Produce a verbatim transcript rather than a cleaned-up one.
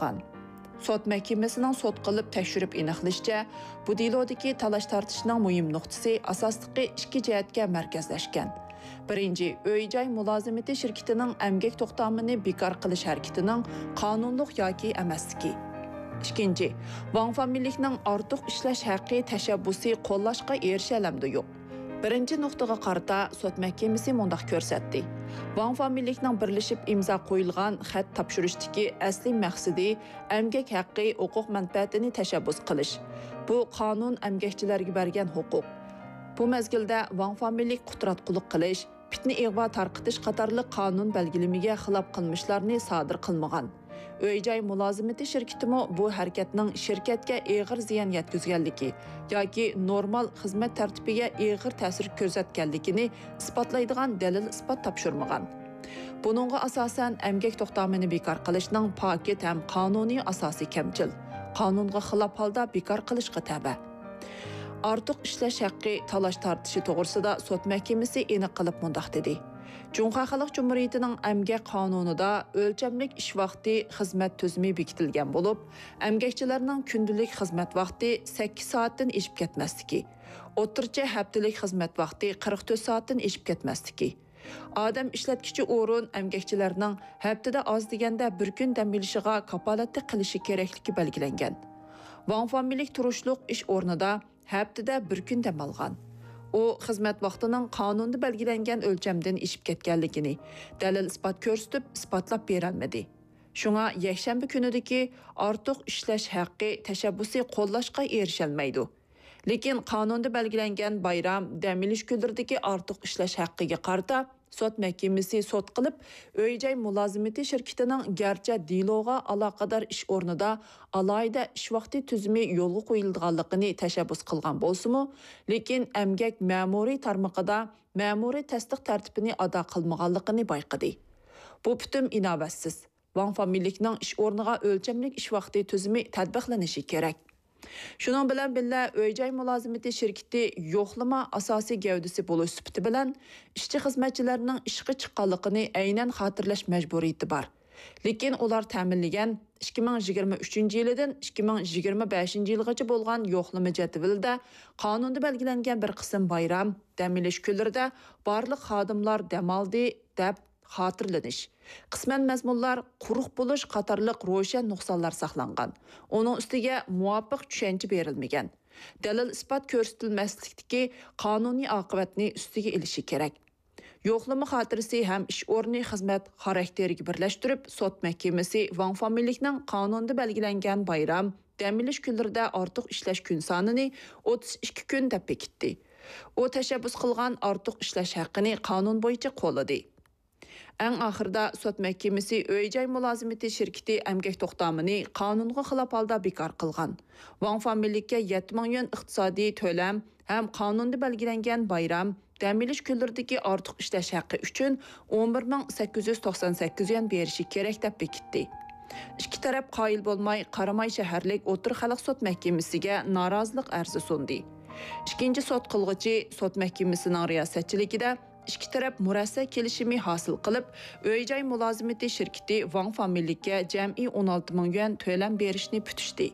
چىققان. سوت مەھكىمىسىنىڭ سوت قىلىپ تەكشۈرۈپ ئېنىقلىشىچە، بۇ دېلودىكى تالاش-تارتىشنىڭ مۇھىم نۇقتىسى ئاساسلىقى ئىككى جەھەتكە مەركەزلەشكەن. بىرىنچى، ئۆي-جاي مۇلازىمىتى شىركىتىنىڭ ئەمگەك توختامىنى بىكار قىلىش ھەرىكىتىنىڭ قانۇنلۇق ياكى ئەمەسلىكى. ئىككىنچى، ۋاڭ فامىلىكنىڭ ئارتۇق ئىشلەش ھەققى تەشەببۇسى قوللاشقا ئېرىشەلەمدۇ يوق؟ بىرىنچى نۇقتىغا قارىتا سوت مەھكىمىسى مۇنداق كۆرسەتتى: ۋاڭ فامىلىكنىڭ بىرلىشىپ ئىمزا قويۇلغان خەت تاپشۇرۇشتىكى ئەسلىي مەقسىتى ئەمگەك ھەققى، ھوقۇق مەنپەئەتىنى تەشەببۇس قىلىش. بۇ قانۇن ئەمگەكچىلەرگە بەرگەن ھوقۇق. بۇ مەزگىلدە ۋاڭ فامىلىك قۇتراتقۇلۇق قىلىش، پىتنە-ئىغۋا تارقىتىش قاتارلىق قانۇن بەلگىلىمىگە خىلاپ قىلمىشلارنى سادىر قىلمىغان. ئۆي-جاي مۇلازىمىتى شىركىتىمۇ بۇ ھەرىكەتنىڭ شىركەتكە ئېغىر زىيان يەتكۈزگەنلىكى ياكى نورمال خىزمەت تەرتىپىگە ئېغىر تەسىر كۆرسەتكەنلىكىنى ئىسپاتلايدىغان دەلىل-ئىسپات تاپشۇرمىغان. بۇنىڭغا ئاساسەن، ئەمگەك توختامىنى بىكار قىلىشنىڭ پاكىت ھەم قانۇنىي ئاساسى كەمچىل، قانۇنغا خىلاپ ھالدا بىكار قىلىشقا تەۋە. ئارتۇق ئىشلەش ھەققى تالاش-تارتىشى توغرىسىدا سوت مەھكىمىسى ئېنىق قىلىپ مۇنداق دېدى: جۇڭخۇا خەلق جۇمھۇرىيىتىنىڭ ئەمگەك قانۇنىدا ئۆلچەملىك ئىش ۋاقتى خىزمەت تۈزۈمى بېكىتىلگەن بولۇپ، ئەمگەكچىلەرنىڭ كۈندىلىك خىزمەت ۋاقتى سەككىز سائەتتىن ئېشىپ كەتمەسلىكى، ئوتتۇرىچە ھەپتىلىك خىزمەت ۋاقتى قىرىق تۆت سائەتتىن ئېشىپ كەتمەسلىكى، ئادەم ئىشلەتكۈچى ئورۇن ئەمگەكچىلەرنىڭ ھەپتىدە ئاز دېگەندە بىر كۈن دەم ئېلىشىغا كاپالەتلىك قىلىشى كېرەكلىكى بەلگىلەنگەن. ۋاڭ فامىلىك تۇرۇشلۇق ئىش ئورنىدا ھەپتىدە بىر كۈن دەم ئالغان. ئۇ خىزمەت ۋاقتىنىڭ قانۇندا بەلگىلەنگەن ئۆلچەمدىن ئېشىپ كەتكەنلىكىنى دەلىل-ئىسپات كۆرسىتىپ ئىسپاتلاپ بېرەلمىدى. شۇڭا يەكشەنبە كۈنىدىكى ئارتۇق ئىشلەش ھەققى تەشەببۇسى قوللاشقا ئېرىشەلمەيدۇ. لېكىن قانۇندا بەلگىلەنگەن بايرام، دەم ئېلىش كۈنلىرىدىكى ئارتۇق ئىشلەش ھەققىگە قارىتا سوت مەھكىمىسى سوت قىلىپ، ئۆي-جاي مۇلازىمىتى شىركىتىنىڭ گەرچە دېلوغا ئالاقىدار ئىش ئورنىدا ئالاھىدە ئىش ۋاقتى تۈزۈمى يولغا قويۇلىدىغانلىقىنى تەشەببۇس قىلغان بولسىمۇ، لېكىن ئەمگەك مەمۇرىي تارمىقىدا مەمۇرىي تەستىق تەرتىپىنى ئادا قىلمىغانلىقىنى بايقىدى. بۇ پۈتۈن ئىناۋەتسىز. ۋاڭ فامىلىكنىڭ ئىش ئورنىغا ئۆلچەملىك ئىش ۋاقتى تۈزۈمى تەتبىقلىنىشى كېرەك. شۇنىڭ بىلەن بىللە، ئۆي-جاي مۇلازىمىتى شىركىتى يوقلىما ئاساسىي گەۋدىسى بولۇش سۈپىتى بىلەن ئىشچى-خىزمەتچىلەرنىڭ ئىشقا چىققانلىقىنى ئەينەن خاتىرىلەش مەجبۇرىيىتى بار. لېكىن ئۇلار تەمىنلىگەن ئىككى مىڭ يىگىرمە ئۈچىنچى يىلىدىن ئىككى مىڭ يىگىرمە بەشىنچى يىلغىچە بولغان يوقلىما جەدۋىلىدە قانۇندا بەلگىلەنگەن بىر قىسىم بايرام، دەم ئېلىش كۈنلىرىدە بارلىق خادىملار دەم ئالدى، دەپ خاتىرىلىنىش، قىسمەن مەزمۇنلار قۇرۇق بولۇش قاتارلىق روشەن نۇقسانلار ساقلانغان. ئۇنىڭ ئۈستىگە مۇۋاپىق چۈشەنچە بېرىلمىگەن. دەلىل-ئىسپات كۆرسىتىلمەسلىكتىكى قانۇنىي ئاقىۋەتنى ئۈستىگە ئېلىشى كېرەك. يوقلىما خاتىرىسى ھەم ئىش ئورنى خىزمەت خاراكتېرىگە بىرلەشتۈرۈپ، سوت مەھكىمىسى ۋاڭ فامىلىكنىڭ قانۇندا بەلگىلەنگەن بايرام، دەم ئېلىش كۈنلىرىدە ئارتۇق ئىشلەش كۈن سانىنى ئوتتۇز ئىككى كۈن دەپ بېكىتتى. ئۇ تەشەببۇس قىلغان ئارتۇق ئىشلەش ھەققىنى قانۇن بويىچە قوللىدى. ئەڭ ئاخىرىدا سوت مەھكىمىسى ئۆي-جاي مۇلازىمىتى شىركىتى ئەمگەك توختامىنى قانۇنغا خىلاپ ھالدا بىكار قىلغان، ۋاڭ فامىلىككە يەتتە مىڭ يۈەن ئىقتىسادىي تۆلەم ھەم قانۇندا بەلگىلەنگەن بايرام، دەم ئېلىش كۈنلىرىدىكى ئارتۇق ئىشلەش ھەققى ئۈچۈن ئون بىر مىڭ سەككىز يۈز توقسان سەككىز يۈەن بېرىشى كېرەك دەپ بېكىتتى. ئىككى تەرەپ قايىل بولماي، قاراماي شەھەرلىك ئوتتۇرا خەلق سوت مەھكىمىسىگە نارازىلىق ئەرزى سۇندى. ئىككىنچى سوت قىلغۇچى سوت مەھكىمىسىنىڭ رىياسەتچىلىكىدە ئىككى تەرەپ مۇرەسسە كېلىشىمى ھاسىل قىلىپ، ئۆي-جاي مۇلازىمىتى شىركىتى ۋاڭ فامىلىككە جەمئىي ئون ئالتە مىڭ يۈەن تۆلەم بېرىشنى پۈتۈشتى.